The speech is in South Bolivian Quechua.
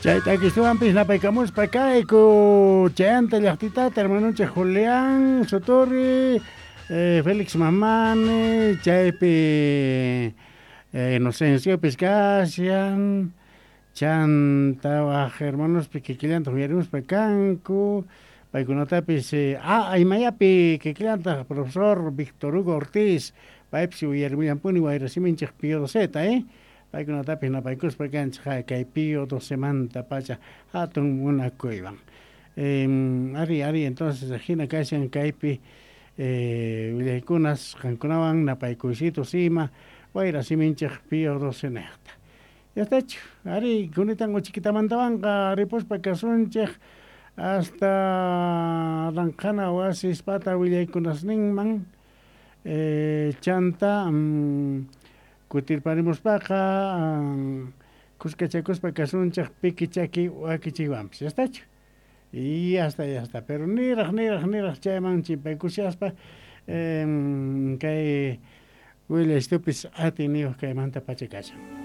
Chay takistuwanpis napaykamuspa kayku chayanta llaqtitata hermanonchik Julián Sotorri, Félix Mamani, chaypi Inocenciopis kashan, chanta waj hermanospi kikillantaq uyarimuspa kanku, paykunatapis imayapi kikillantaq profesor Víctor Hugo Ortiz, paypis uyarimullanpuni wayrasiminchik Pío Doceta, paykunatapis napaykuspa kanchik kay Pío Docemantapacha hatun munakuywan. Ari, ari, entonces ajina kashan kaypi willaykunas qankunawan napaykuysitos ima wayrasiminchik Pío Docenejta. Ya estachu, ari, kunitan uchikitamantawanqa ripuspa kasunchik hasta ranqhana wasispata willaykunasninman chanta kutirparimuspaqa kuskachakuspa kasunchik piki chaki wakichiywanpis. Ya estachu? Y ya está, ya está. Pero niraj, niraj, niraj chayman chimpaykushaspa kay willaystupis atiyniyuq kaymanta pacha kashan.